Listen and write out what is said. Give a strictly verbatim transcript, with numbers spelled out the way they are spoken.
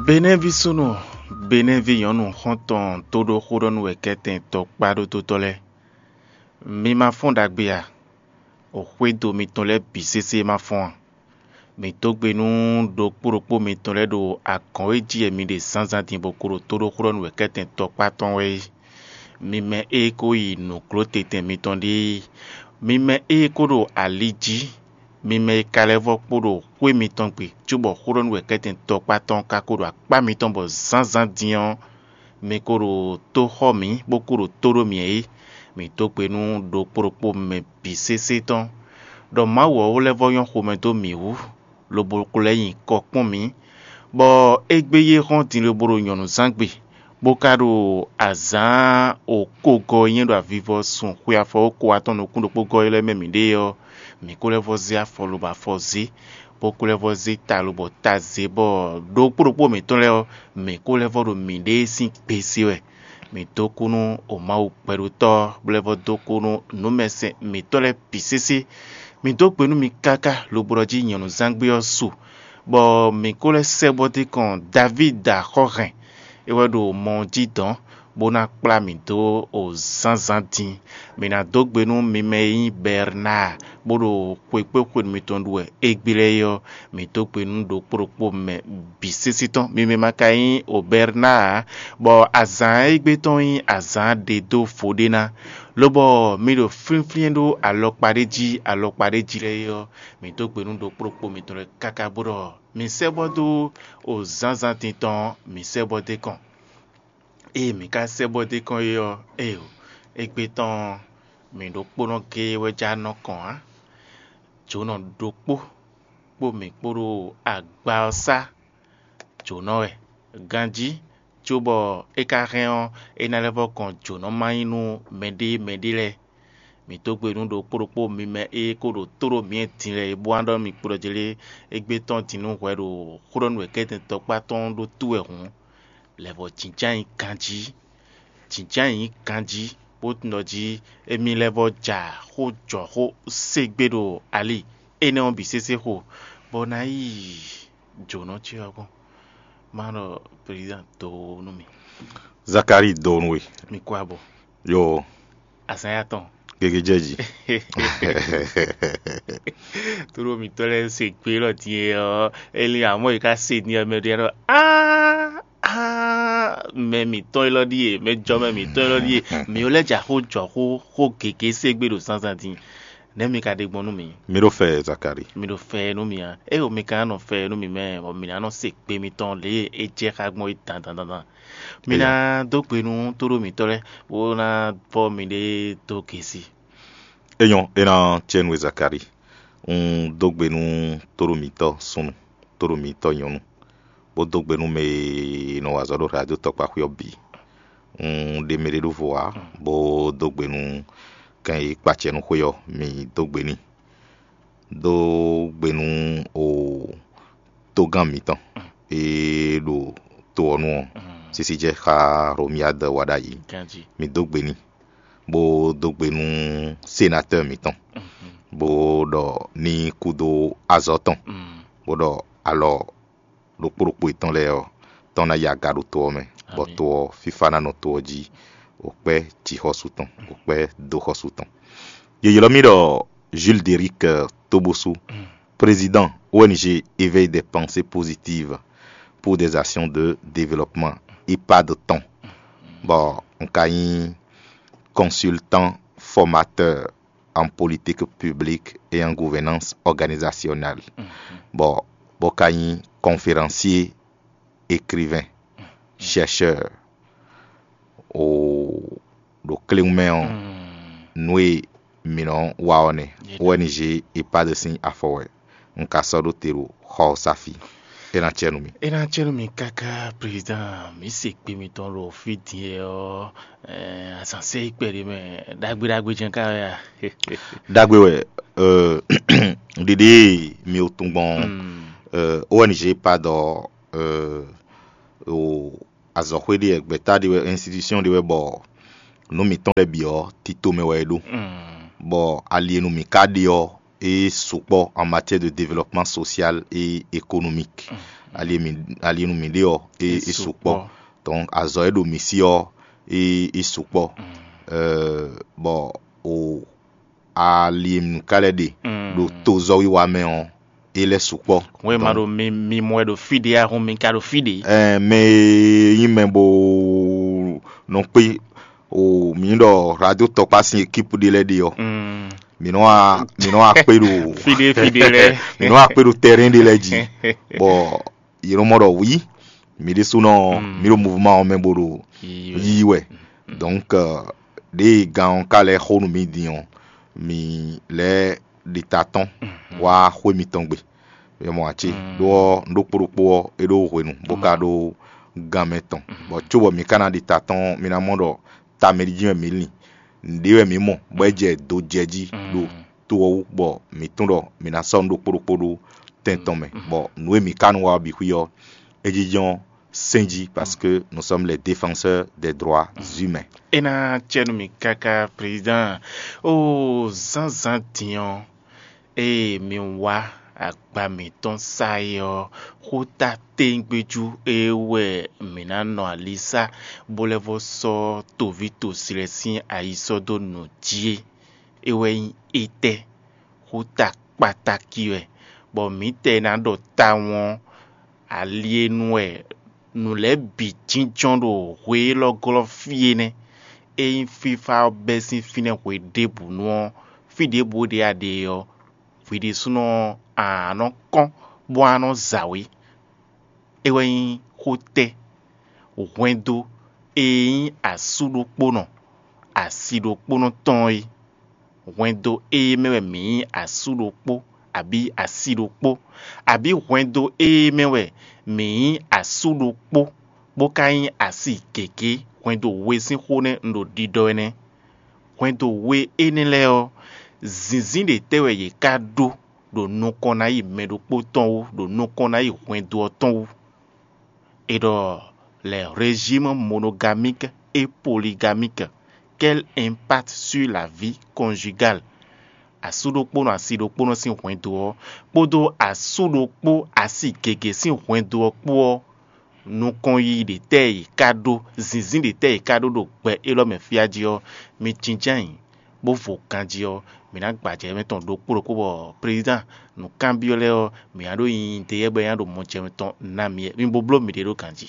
Benɛ́ví súnnu, Benɛ́ví nyɔ̌nu xɔ́ntɔn tóɖóxóɖɔnúwɛkɛ́tɛn tɔkpá ɖótótɔ́ lɛ́ɛ, mi ma fɔ́n ɖagbe a? O xwédo mitɔn lɛ́ɛ bǐ sésé ma fɔ́n a? Mǐ dó gbe nú ɖokpó ɖokpó mitɔn lɛ́ɛ ɖo agɔ̌n e jí wɛ mi ɖe zǎnzǎn din bó ko ɖo tóɖóxóɖɔnúwɛkɛ́tɛn tɔkpá tɔn wɛ é. Mi mɛ e ko yi nǔglótetɛn mitɔn ɖíe, mi mɛ e ko ɖo ali jí, mi mɛ e ka lɛ́ vɔ́ kpo ɖo xwé mitɔn gbe, cóbɔ xóɖɔnúwɛkɛ́tɛn tɔkpá tɔn ka ko ɖo akpá mitɔn bɔ zǎnzǎn din ɔ́, mi ko ɖo tó xɔ mǐ, bó ko ɖo tó ɖó mǐ é. Mǐ dó gbe nú ɖokpó ɖokpó mɛ bǐ sésé tɔn, ɖɔ Mawu ɔ́ lɛ́ vɔ́ nyɔ́ xomɛ dó mǐ wú, lobo ko lɛ́ nyi kɔ kpɔ́n mǐ, bɔ égbé yé hɔ́n din lobo ɖo nyɔ̌nuzángbe, bó ka ɖo azǎn okógɔ́ e nyí ɖo avivɔ sun xwe afɔwókó atɔn nukún ɖokpó gɔ́ é lɛ́ɛ mɛ mǐ ɖe ɔ́, mǐ ko lɛ́ vɔ́ zé afɔ lobo afɔ zé, bó ko lɛ́ vɔ́ zé ta lobo ta zé, bɔ ɖokpó ɖokpó mǐtɔn lɛ́ɛ ɔ́, mǐ ko lɛ́ vɔ́ ɖo mǐɖée sín gbe se wɛ. Mǐ dó kú nú o Mawu gbɛɖótɔ́, bó lɛ́ vɔ́ dó kú nú nǔmɛsɛn mǐtɔn lɛ́ɛ bǐ sésé. Mǐ dó gbe nú mi káká lobo ɖɔ jí nyɔ̌nuzángbe ɔ́ su, bɔ mǐ ko lɛ́ sɛ́ bɔ dé kɔn Davídi axɔ́hɛn, é wɛ ɖo mɔ ɔ́ jí dɔ̌n, bó ná kplá mì dó o zǎnzǎn din. Mǐ ná dó gbe nú mi mɛ e nyí Bɛrnáa, bó ɖo xwekpéxwenu mitɔn ɖu wɛ égbé lɛ́ɛ é ɔ́, mǐ dó gbe nú ɖokpó ɖokpó mɛ bǐ sésé tɔn. Mi mɛ ma ka nyí o Bɛrnáa ǎ, bɔ azǎn égbé tɔn nyí azǎn ɖe dó vo ɖé ná, lobɔ mi ɖo flínflín ɖó alɔkpa ɖé jí alɔkpa ɖé jí lɛ́ɛ é ɔ́, mǐ dó gbe nú ɖokpó ɖokpó mitɔn lɛ́ɛ káká bó ɖɔ mi sɛ́ bɔ dó o zǎnzǎn din tɔn ɔ́, mi sɛ́ bɔ dó kɔn. Ée mǐ ka sɛ́ bɔ dó kɔn é ɔ́, éeǒ, égbé tɔn ɔ́, mǐ ɖokpónɔ géé wɛ já nɔ kɔn ǎ. Jǒnɔ ɖokpó kpó mǐ kpó ɖo agba ɔ́ sá jǒnɔ wɛ ganjí, cóbɔ é ka hɛn ɔ́, é ná lɛ́ vɔ́ kɔn jǒnɔ ma nyí nú mɛɖée mɛɖée lɛ́ɛ. Mǐ dó gbe nú ɖokpó ɖokpó mi mɛ e ko ɖo tóɖó mǐ din lɛ́ɛ é bó wá ɖɔ mi kplɔ́ jlé égbé tɔn din nú hwɛ ɖo xó ɖɔ nú wɛ kɛ́tɛn tɔkpá tɔn ɖó tú wɛ hǔn, lɛ̌ vɔ jǐnján nyi ganjí. Jǐnján nyi ganjí, bó tunwun ɖɔ jí émí lɛ́ vɔ ja xó jɔ xó ségbé ɖo ali énɛ́ ɔ́ bǐ sésé xo, bɔ ná yi jǒnɔ ce ɔ́ gɔ́n. Má ɖɔ prezidán do nú mi. Zakalíi do nú we. Mi kú abɔ. Yo. Azǎn ya tɔn. Gege jɛ jí. Tóɖó mitɔ́ lɛ́ɛ se gbé élɔ́ din e ɔ́, é lin amɔ̌ yi ká se din ɔ́, mɛ ɖé ɖɔ áá áá, mɛ mǐtɔn élɔ́ ɖíe, mɛ jɔ mɛ mǐtɔn élɔ́ ɖíe. Mǐ lɛ́ ja xó jɔ xó xó gěgé ségbé ɖo zǎnzǎn din. Nɛ̌ mi ka ɖe gbɔn nú mǐ? Mi ɖo fɛ Zakali. Mi ɖo fɛ nú mì a? Ée mi ka nɔ fɛ nú mì mɛ, bɔ mǐ ná nɔ se gbe mitɔn lě e é jɛ xá gbɔn é dan dan dan dan. Mi ná dó gbe nú tóɖó mǐtɔn lɛ́ɛ, bó ná bɔ miɖée dó gěsi. É nyɔ́, é ná cɛ nú we Zakali. Un dó gbe nú tóɖó mǐtɔn súnnu, tóɖó mǐtɔn nyɔ̌nu, bó dó gbe nú mɛ e nɔ wa azɔ̌ ɖo radio tɔkpa xwé ɔ́ bǐ. Un ɖe mɛ ɖé ɖó vo ǎ, bó dó gbe nú kɛn e kpacɛ nú xwé ɔ́, mǐ dó gbe n'i. Dó gbe nú o tógán mǐtɔn e ɖo to ɔ́ nu ɔ́, sísí jɛ xá Romiyád wa ɖ'ayǐ. Mǐ dó gbe n'i, bó dó gbe nú sénatɔ́ɔ mǐtɔn, bó ɖɔ ní kú dó azɔ̌ tɔn, bó ɖɔ alɔ ɖokpó ɖokpó yětɔn lɛ́ɛ ɔ́, tɔn ná yi aga ɖo to ɔ́ mɛ, bɔ to ɔ́, fífá ná nɔ to ɔ́ jí. Wǒ kpɛ́ jǐxɔ́sú tɔn, wǒ kpɛ́ dóxɔ́sú tɔn. Yě ylɔ́ mì ɖɔ Jules Deric Tobosu, président O N G Éveil des pensées positives pour des actions de développement, EHPAD tɔn, bɔ un ka nyí consultant formateur en politique publique et en gouvernance organisationnelle. Bɔ bó ka nyí conférencier, écrivain, chercheur o ɖo kléwún mɛ ɔ́, nǔ e mǐ nɔ wa ɔ́ nɛ́. O N G EHPAD sín afɔ wɛ un ka sɔ́ ɖó te ɖo xɔ ɔ́ sá fí. É ná cɛ nú mi. É ná cɛ nú mi káká, président. Mǐ se kpe mitɔn ɖo fí din e ɔ́, azǎn sɛ yi kpɛɖé mɛ. Ɖagbe ɖagbe jɛ́n ká wɛ a? Ɖagbe wɛ. Ɖiɖi e mi o tun gbɔn, O N G EHPAD ɔ́, o azɔ̌xwé ɖé wɛ, gbɛ̌ta ɖé wɛ, institution ɖé wɛ, bɔ nǔ mǐtɔn lɛ́ɛ bǐ ɔ́, tito mɛ wɛ é ɖó. Bɔ ali e nu mǐ ka ɖe ɔ́, é sukpɔ́ en matière de développement social et économique. ali e mǐ ali e nu mǐ ɖe ɔ́, é é sukpɔ́. Donc azɔ̌ e ɖo mǐ sí ɔ́, é é sukpɔ́. Euh, bɔ o ali e mǐ ka lɛ́ ɖe ɖo tozɔ́wiwa mɛ ɔ́, é lɛ́ sukpɔ́. Hwɛ ma ɖo mi mi mɔ wɛ ɖo fí ɖé ahun mi ka ɖo fí ɖé. Ɛɛ, mɛ e nyí mɛ bo nɔ kpé o mǐ ɖɔ radio tɔkpá sín ekipu ɖé lɛ́ɛ ɖe ɔ́, mǐ nɔ wá mǐ nɔ wá kpé ɖo fí ɖé fí ɖé lɛ́ɛ. Mǐ nɔ wá kpé ɖo tɛrɛn ɖé lɛ́ɛ jí, bɔ yě nɔ mɔ ɖɔ wǐ mǐ ɖésúnɔ mǐ ɖo mouvement ɔ́ mɛ bo ɖo yí wɛ. Donc euh, ɖěe gán ɔ́ ka lɛ́ xo nú mì din ɔ́, mǐ lɛ́ ɖi ta tɔn wá xwé mitɔn gbe. É mɔ ǎ cé? Ɖó ɔ́, un ɖó kpó ɖokpó ɔ́, é ɖó hwenu bó ka ɖó gan mɛ tɔn. Bɔ cóbɔ mǐ ka ná ɖi ta tɔn ɔ́, mi ná mɔ ɖɔ tamɛ ɖi jí wɛ mǐ lin. Nǔɖé wɛ mǐ mɔ bɔ é jɛ do jɛ jí ɖo to ɔ́ wú, bɔ mǐ tunwun ɖɔ mǐ ná sɔ́ nǔ ɖokpó ɖokpó ɖó tɛn tɔn mɛ, bɔ nǔ e mǐ ka nɔ wa ɔ́ bǐ xwí ɔ́, é jínjɔ́n sɛ́n jí, parce que nous sommes les défenseurs des droits humains. É ná cɛ nú mì káká, président. Ó zánzán din ɔ́, ée mi wá agba mǐtɔn sá é ɔ́, xó ta téŋgbéjú é wɛ mǐ ná nɔ alisá, bó lɛ́ vɔ́ sɔ́ toví tosi lɛ́ɛ sín ayi sɔ́ dó nǔ jí é. É wɛ nyí étɛ́? Xó ta kpatáki wɛ, bɔ mǐtɛɛ ná ɖɔ tawun ɔ́, ali e nu wɛ nǔ lɛ́ɛ bǐ jínjɔ́n ɖo hwe élɔ́ glɔ́ fí é nɛ́. Ényí fífá ɔ́ bɛ́ sín fínɛ́ hwe ɖěbǔnu ɔ́, fí ɖěbǔ ɖě a ɖe ɔ́, hwi ɖésúnɔ ɔ́, a nǎ nɔ kɔ́n bó wá nɔ zawě. É wɛ nyí xó tɛ́, hwɛndo e nyí asú ɖokpónɔ, asi ɖokpónɔ tɔn é. Hwɛndo ée mɛ wɛ mǐ nyí asú ɖokpó, abǐ asi ɖokpó, abǐ hwɛndo ée mɛ wɛ mǐ nyí asú ɖokpó, bó ka nyí asi gěgé, hwɛndo we sín xó nɛ́ un ɖo ɖiɖɔ wɛ nɛ́. Hwɛndo we énɛ́ lɛ́ɛ ɔ́, zǐnzín ɖě tɛ́ wɛ yě ká ɖó ɖo nukɔn ná yi mɛ ɖokpó tɔn wú, ɖo nukɔn ná yi hwɛndo ɔ́ tɔn wú? È ɖɔ les régimes monogamiques et polygamiques, quel impact sur la vie conjugale? Asú ɖokpónɔ asi ɖokpónɔ sín hwɛndo ɔ́, kpódó asú ɖokpó asi gěgé sín hwɛndo ɔ́ kpó ɔ́, nukɔn yiyi ɖě tɛ́ yě ká ɖó, zǐnzín ɖě tɛ́ yě ká ɖó ɖo gbɛ élɔ́ mɛ fí a jí ɔ́, mi jínjɔ́n ayǐ, bó vo ganjí ɔ́, mǐ ná gbajɛ mɛ tɔn ɖokpó ɖokpó bɔ président nǔkanbyɔ́ lɛ́ɛ ɔ́, mǐ ná ɖó nyi ɖeyɛ́ bɔ é ná ɖo mɔjɛmɛ tɔn ná mi mi bo bló miɖée ɖó ganjí.